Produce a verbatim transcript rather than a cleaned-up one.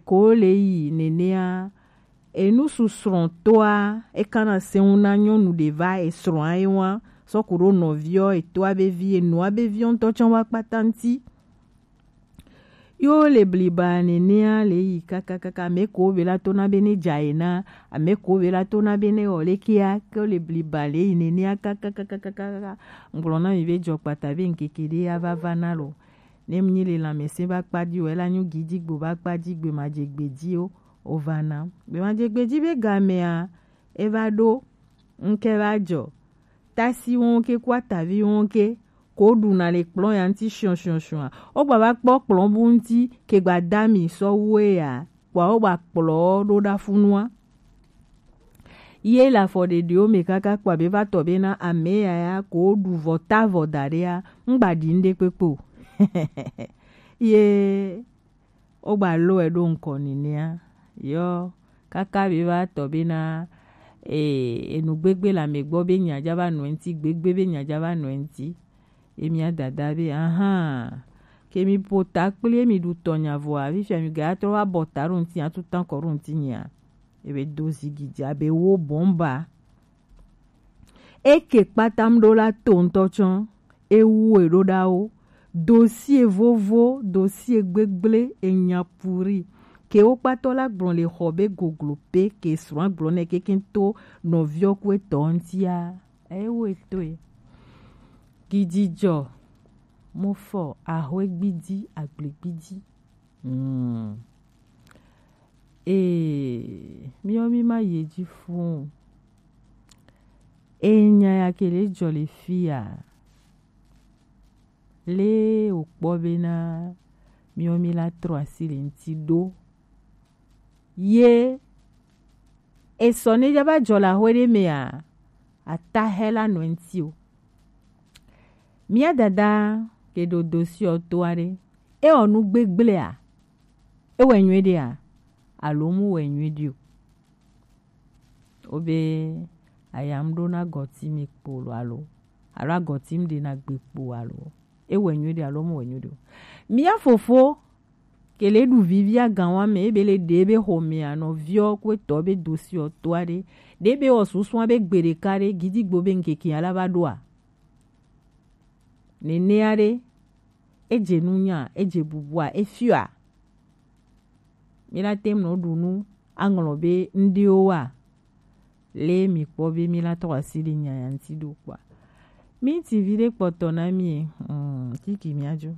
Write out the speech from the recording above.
ko le yi nenea, enu susrɔ̃tɔa, ekana sɛŋu na nyɔnu ɖe va esrɔ̃a ye wa, sɔ ku ɖo nɔviɔ, etɔa be vi, enua be viɔ ŋutɔ tsã wa kpata ŋuti. Yo le bliba nenea le yi kakakaka, ame ko be la to na be ne dza ye na, ame ko be la to na be ne wɔ lekea, ke le bliba le yi nenea kakakaka. Ŋgblɔ na mi be dzɔ kpata be ŋkeke ɖe ava va na lo. Ne mi le lãmesẽ ba kpa di o, ela nyu gidigbo ba kpa di gbe ma dze gbe di o, o va na. Gbe ma dze gbe di be gamea, e va ɖo, ŋke va dzɔ. Tasi wo ke ku atavi wo ke, ko ɖuna le kplɔ̃ ya ŋuti shiɔshiɔshiɔa. Wo gba va kpɔ kplɔ̃ bu ŋuti, ke gba da mi sɔ wu ya, kpɔa wo gba kplɔ ɖo ɖa funua. Ye le afɔ ɖeɖewo me kaka kpɔa be va tɔ be na ame ya ya ko ɖu vɔ ta vɔ da ɖea, ŋgba ɖi ŋɖe kpekpe o. Ye wo gba lɔe ɖo ŋkɔ nenea. Yɔ, kaka be va tɔ be na, e, enu gbegbe le ame gbɔ be nya dza va nɔ eŋuti, gbegbe be nya dza va nɔ eŋuti. Ye mía dada be, ahan, ke mi ƒo ta kpli ye mi ɖu tɔ nya vɔa, fifia mi ga trɔ va bɔ ta ɖo ŋuti, atu tan kɔ ɖo ŋuti nyea. Ebe do zigidi abe wo bɔmba. Eke kpata ŋɖo la to ŋutɔ tsɔ, ewu eɖo ɖawo, dosie vovo, dosie gbegble, enya puri. Ke wo kpatɔ la gblɔ le xɔ be goglo pe, ke srɔ̃a gblɔ nɛ keke to nɔviɔ ku etɔ ŋutia. Ewo etoe. Gididzɔ, mo fɔ, ahwe gbidi, agble gbidi. Hmm. Ee, miɔ mi ma ye dzi fun. Enya ya ke le dzɔ le fia. Le wokpɔ bena miɔ mi la trɔ asi le ŋuti ɖo. Ye esɔ ne dza va dzɔ le axwe ɖe mea, atahɛ la nɔ eŋuti o. Mía dada ke ɖo dosi ɔ to aɖe. Ewɔ nu gbegblea? Ewɔe nyuie ɖea? Alo mu wɔ nyuie ɖi o? Wobe ayam ɖo na gɔti mi kpo lo alo, alo agɔti mi ɖe na gbe kpo alo? Ewɔe nyuie ɖe alo mu wɔ nyuie ɖe o? Mía fofo ke le ɖu vivi aganwa me, ebe le ɖe ebe xɔmea nɔviɔ ku etɔ be dosi ɔ to aɖe, ɖe be wɔ susua be gbe ɖeka ɖe gidigbo be ŋkeke ala va ɖoa? Nenea ɖe, edze nunya, edze bubua, efiɔa? Mi la te ŋu nɔ ɖu nu aŋlɔ be ŋɖewo wa? Le mi kpɔ be mi la trɔ asi ɖe nya ya ŋuti ɖo kpɔa? Mi ti vi ɖe kpɔtɔ na mi, mm, kiki mi adzo.